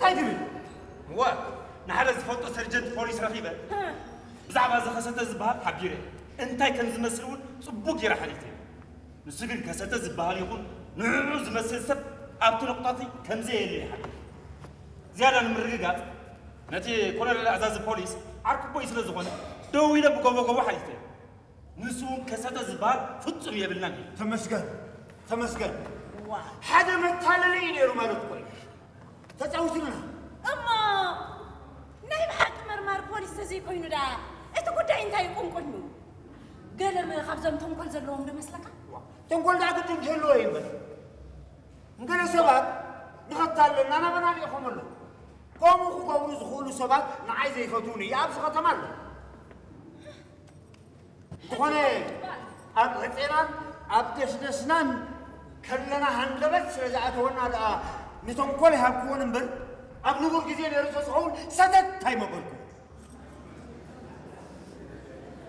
እንታይ ትብል? እወ፣ ንሓደ ዝፈልጦ ሰርጀንት ፖሊስ ረኺበ። ብዛዕባ እዚ ከሰተ ዝበሃል ሓቢረ። እንታይ ከም ዝመስል እውን ጽቡቕ ገይረ ሓቲተ። ንሱ ግን ከሰተ ዝበሃል ይኹን ንዕኡ ዝመስል ሰብ ኣብቲ ነቑጣቲ ከም ዘየለ ይሓብር። ዝያዳ ንምርግጋጽ፣ ነቲ ኮሎኔል ኣዛዚ ፖሊስ ዓርኩቦይ ስለ ዝኾነ፣ ደው ኢለ ብጎቦ ጎቦ ሓቲተ። ንሱ እውን ከሰተ ዝበሃል ፍጹም የብልናን እዩ። ተመስገን፣ ተመስገን። ዋ። ሓደ መታለሊ እዩ ነይሩ ማለት እኮ እዩ። ተጻዊቱልና። እሞ ናይ ብሓቂ መርማሪ ፖሊስ ተዘይኮይኑ ደኣ እቲ ጉዳይ እንታይ ይቁንቁን እዩ? ገለ መ-፣ ካብዞም ተንኮል ዘለዎም ዶ መስለካ? ዋ፣ ተንኮል ደኣ ግድን ክህልዎ እዩ እምበር። ንገለ ሰባት ንኸታለልና ናባና ልኢኾም ኣለዉ። ከምኡ ክገብሩ ዝኽእሉ ሰባት ንዓይ ዘይፈትዉኒ ኣብዚ ከተማ ኣለዉ። እንተኾነ ኣብ ዕጼናን ኣብ ደስደስናን ከለና ሃንደበት ስለ ዝኣተወና ደኣ ንተንኮል ይሃብክዎን እምበር ኣብ ንቡር ግዜ ነይሩ ተዝኸውን ሰተት ኣይመበልኩ።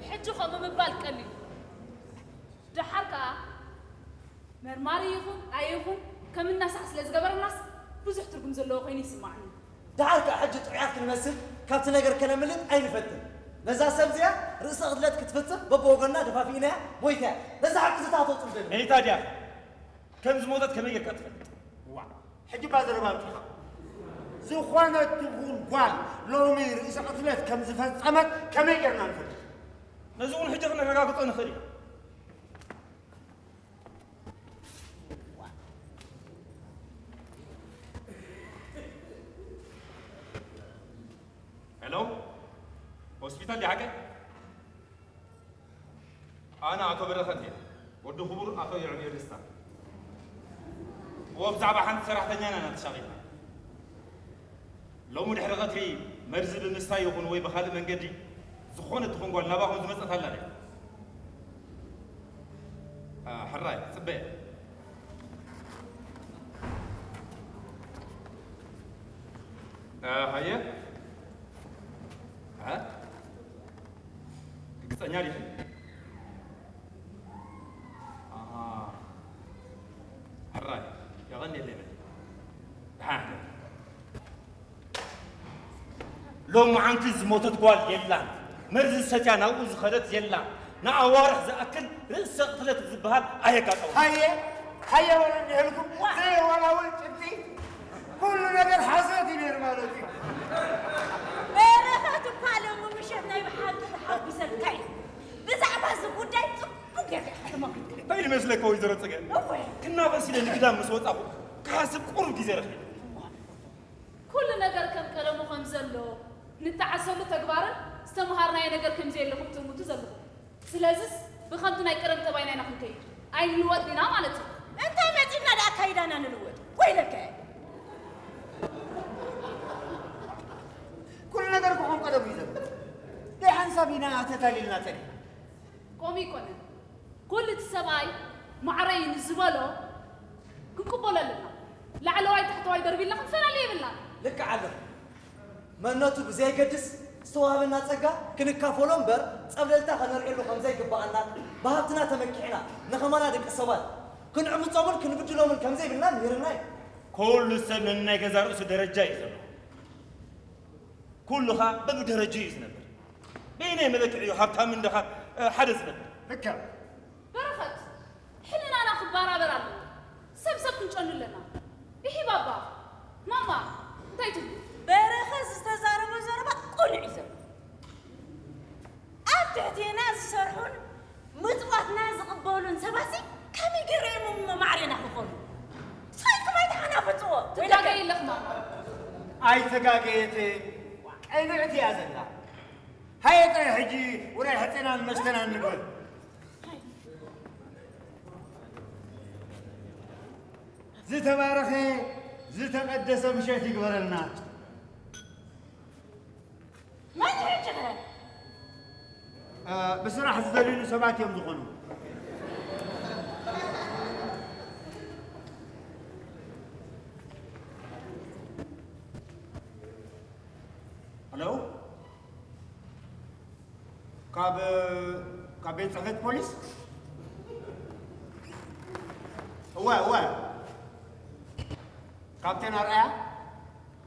ሕጂ ከምኡ ምባል ቀሊል። ደሓር ከኣ መርማሪ ይኹን ኣይኹን ከም እናሳዕ ስለ ዝገበረናስ ብዙሕ ትርጉም ዘለዎ ኮይኑ ይስማዕኒ። ደሓር ከኣ ሕጂ ጥዑያት ክንመስል ካብቲ ነገር ከነምልጥ ኣይንፈትን። ነዛ ሰብ እዚኣ ርእሰ ቅትለት ክትፍጽም በብወገንና ደፋፊእናያ ሞይታ እያ። ነዛ ሓቂ ዝታተው ጽምደል። መይታ ድያ? ከም ዝሞተት ከመይ ጌርካ ትፈልጥ? ዋ፣ ሕጂ እባ ዘረባ ኣብቂዕኻ። ዝኾነት ትኹን ጓል ሎሚ ርእሰ ቅትለት ከም ዝፈጸመት ከመይ ጌርና ንፈልጥ? ነዚ እውን ሕጂ ክነረጋግጾ ንኽእል ኢና። ሄሎ፣ ሆስፒታል ድዩ ሓቀይ? ኣነ ኣቶ በረኸት እየ፣ ወዲ ክቡር ኣቶ የዕብዮ ደስታ። እወ፣ ብዛዕባ ሓንቲ ሰራሕተኛና ኢና ተሻቒልና። ሎሚ ድሕሪ ቐትሪ መርዚ ብምስታይ ይኹን ወይ ብኻልእ መንገዲ ዝኾነት ትኹን ጓል ናባኹም ዝመጸት ኣላ ድያ? ኣ፣ ሕራይ፣ ጽበየ። ኣ፣ ሃየ። ኣ? ርግጸኛ ዲኺ? ኣሃ። ሕራይ፣ የቐንየለይ በሊ። ደሓን ሕደሪ። ሎማዓንቲ ዝሞተት ጓል የላን፣ መርዚ ሰትያ ናብኡ ዝኸደት የላን፣ ንኣዋርሕ ዝኣክል ርእሰ ቅትለት ዝበሃል ኣየጋጠመን። ሃየ ሃየ በሉ እንዲህልኩም ዘይወላወል ጭብጢ ኩሉ ነገር ሓሶት እዩ ነይሩ ማለት እዩ። በረኸት እኳ ሎሚ ምሸት ናይ ብሓቂ ተሓጒሰካ እዩ። ብዛዕባ እዚ ጉዳይ ጽቡቕ ጌርካ ኢኻ ተመኺርካ። እንታይ ይመስለካ ወይዘሮ ጽገ? እወ። ክናፈስ ኢለ ንግዳም ምስ ወጻኹ ክሓስብ ቁሩብ ግዜ ረኺበ። ኩሉ ነገር ከም ቀደሙ ከም ዘሎ፣ ንተዓዘሉ ተግባርን ዝተምሃርናዮ ነገር ከም ዘየለ ክትእምቱ ዘለኹም። ስለዝስ ብኸምቲ ናይ ቀደም ጠባይና ኢና ክንከይድ፣ ኣይንልወጥን ኢና ማለት እዩ። እንታይ መጺእና ደኣ ኣካይዳና ንልወጥ? ወይለከ! ኩሉ ነገር እኮ ከም ቀደሙ እዩ ዘሎ። ደይ ሓንሳብ ኢና ተታሊልና ጸኒሕና። ከምኡ ኣይኮነን። ኩሉ እቲ ሰብኣይ ማዕረይ ንዝበሎ ክንቅበሎ ኣለና። ላዕለዋይ ታሕተዋይ ደርቢ ኢልና ክንፈላለ የብልናን። ልክዕ ኣለኺ። መንነቱ ብዘየገድስ ዝተዋህበና ጸጋ ክንካፈሎ እምበር ጸብለልታ ከነልዕሉ ከም ዘይግብኣናን ብሃብትና ተመኪሕና ንኸማና ደቂ ሰባት ክንዕምጾምን ክንብድሎምን ከም ዘይብልና ምሂርና እዩ። ኩሉ ሰብ ነናይ ገዛ ርእሱ ደረጃ እዩ ዘለዎ። ኩሉ ኸኣ በብደረጅኡ እዩ ዝነብር። በየናይ መለክዒ እዩ ሃብታምን ድኻን ሓደ ዝነብር? ልክዕ። በረኸት፣ ሕልናና ክበራበር ኣለዎ። ሰብ ሰብ ክንጨኑ ኣለና። ኢሂ ባባ፣ ማማ፣ እንታይ ትብሉ? በረኸት ዝተዛረቦ ዘረባ ቅኑዕ እዩ ዘሎ። ኣብ ትሕቴና ዝሰርሑን ምጽዋትና ዝቕበሉን ሰባትሲ ከመይ ገይሮም እዮም እሞ ማዕሬና ክኾኑ? ስቓይኩም ኣይተሓናፍጽዎ። ትጋገይ ኣለኺ ማማ። ኣይተጋገየትን፣ ቅንዕቲ እያ ዘላ። ሃየ ጥራይ ሕጂ ውራይ ሕጼናን መስተናን ንግበር። ዝተባረኸ ዝተቐደሰ ምሸት ይግበረልና። መን ሕጂ ኸ? ብስራሕ ዝደልዩኒ ሰባት እዮም ዝኾኑ። ሄሎ፣ ካብ ካብ ቤት ጽሕፈት ፖሊስ? እወ እወ፣ ካፕቴን ኣርኣያ።